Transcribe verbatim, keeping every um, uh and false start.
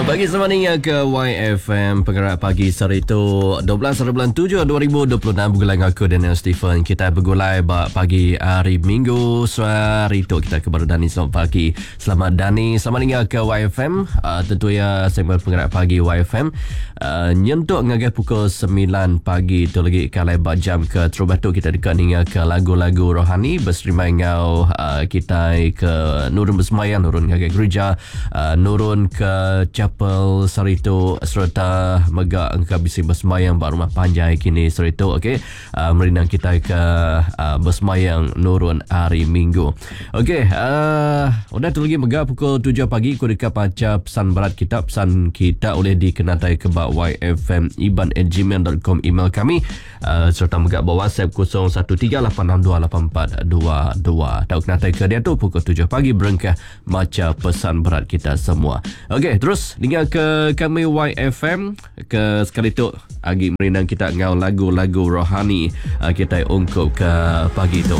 Selamat pagi selamat ninga ke Y F M Pengerak Pagi sehari tu dua belas bulan tujuh dua ribu dua puluh enam begulai dengan aku Daniel Stephen. Kita begulai ba pagi hari Minggu sehari tu kita ke baru Dani. Selamat pagi. Selamat Dani, selamat ninga ke Y F M. Uh, tentu ya segmen Pengerak Pagi Y F M uh, nyentuk ngagai pukul sembilan pagi tu lagi kalai ba jam ke terubah tu kita dekat ninga ke lagu-lagu rohani berserimai ngau uh, kita ke nurun bersemayang, nurun ngagai gereja, uh, nurun ke chapel saritu serta mega engka bisi bersemayang ba rumah panjai kini saritu. Okey, uh, merindang kita ke uh, bersemayang nurun hari Minggu. Okey, uh, udah tu lagi mega pukul tujuh pagi ku dekat baca pesan berat kita. Pesan kita boleh dikenatai ke ba y f m iban at gmail dot com email kami, uh, serta mega ba WhatsApp kosong satu tiga lapan enam dua lapan empat dua dua. Tau kenatai ke dia tu pukul tujuh pagi berengkah maca pesan berat kita semua. Okey, terus dengar ke kami Y F M ke sekali tu agi merindang kita ngau lagu-lagu rohani uh, kita ungkup ke pagi tu.